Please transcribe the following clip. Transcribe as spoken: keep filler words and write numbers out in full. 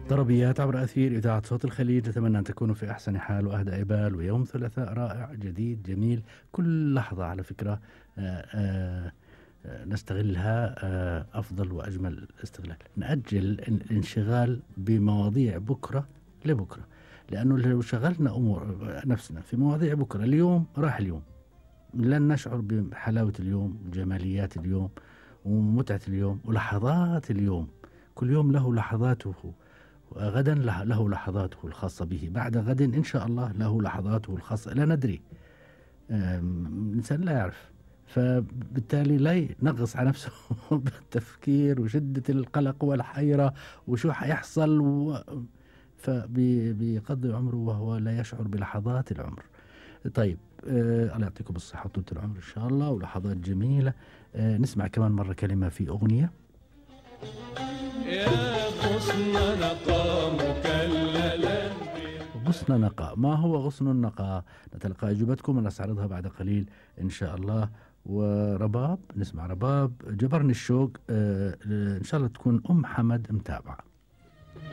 طربيات عبر أثير إذاعة صوت الخليج، أتمنى أن تكونوا في أحسن حال وأهدى بال، ويوم ثلاثاء رائع جديد جميل. كل لحظة على فكرة آآ آآ نستغلها آآ أفضل وأجمل استغلال. نأجل الانشغال بمواضيع بكرة لبكرة، لأنه لو شغلنا أمور نفسنا في مواضيع بكرة اليوم راح اليوم، لن نشعر بحلاوة اليوم وجماليات اليوم ومتعة اليوم ولحظات اليوم. كل يوم له لحظاته، وغدا له لحظاته الخاصة به، بعد غد إن شاء الله له لحظاته الخاصة، لا ندري، الإنسان لا يعرف، فبالتالي لا ينغص على نفسه بالتفكير وشدة القلق والحيرة وشو حيحصل و... فبيقضي عمره وهو لا يشعر بلحظات العمر. طيب آه الله يعطيكم الصحة وطولة العمر إن شاء الله ولحظات جميلة. آه نسمع كمان مرة كلمة في أغنية. يا غصن نقى مكللا. غصن نقى، ما هو غصن النقى؟ نتلقى أجوبتكم ونستعرضها بعد قليل إن شاء الله. ورباب، نسمع رباب جبرني الشوق. آه إن شاء الله تكون أم حمد متابعة.